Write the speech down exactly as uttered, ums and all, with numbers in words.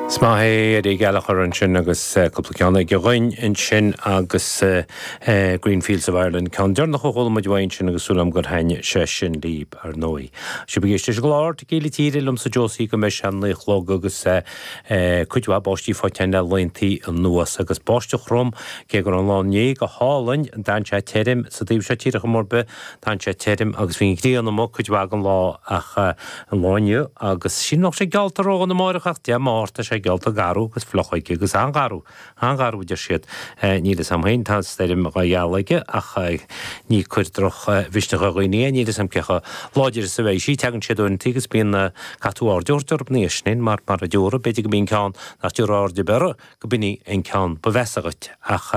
Is maith é Eddie Gallagher ansin agus cúpla ceann aige dhúinn ansin agus Green Fields of Ireland ceann deireanach a chuala muid uaidh ansin agus súil agam gur thaitin sé sin libh ar ndóigh. Sibh ag éisteacht leis an gclár Tequila Tíre liomsa Josie go mbeidh sé naoi a chlog agus cuid mhaith báistí faighte le laethantaí anuas agus báisteach throm cé go raibh an lá inné go hálainn d'fhan sé tirim sa taobh seo tíre chor ar bith d'fhan sé tirim agus bhí an ghrian amuigh cuid mhaith den lá ach an lá inniu agus sin nach sé geallta ró na máireach ach Dé Máirt tá sé geallta garbh agus fliuch aige agus an-gharbh an-gharbh deir siad níl a fhios agam féin tá stoirm dhá gheall aige ach ní cur drochmhisneach ar dhaoine é níl a fhios agam cé chomh láidir is a bheidh sí tegann siad uaireanta agus bíonn caithfidh tú aird a thabhairt orthu níos sin mar mar a dúradh b'fhéidir go mbíonn ceann nach dtabharfá aird ar bith air go b'in an ceann ba mheasa dhuit ach